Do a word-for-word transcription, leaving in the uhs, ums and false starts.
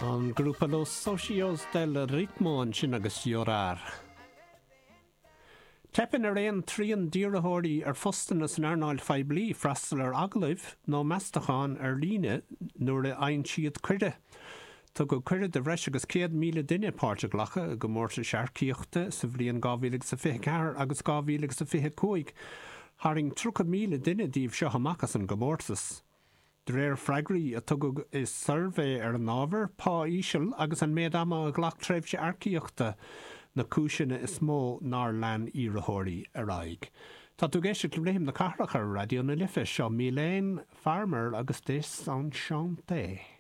An grúpa Los Socios del Ritmo ansin agus Llorar. Teipeann ar aon trian d'iarrthóirí ar phostanna san earnáil phoiblí freastal ar agallaimh nó meastachán ar líne nuair a fhaigheann siad cuireadh. Tugadh cuireadh do bhreis agus céad míle duine páirt a ghlacadh i gcomórtais earcaíochta sa bhliain dhá mhíle agus a fiche ceathair agus dhá mhíle agus a fiche cúig. Tharraing tríocha míle duine díobh seo amach as an gcomórtas. De réir freagraí a tugadh i suirbhé ar an ábhar, pá íseal agus an méid ama a ghlac tréimhse earcaíochta na cúiseanna is mó nár lean iarrthóirí ar aghaidh. Tá tú ag éisteacht le Rithim na Cathrach ar Raidió na Life, seo Mylène Farmer agus Désenchantée.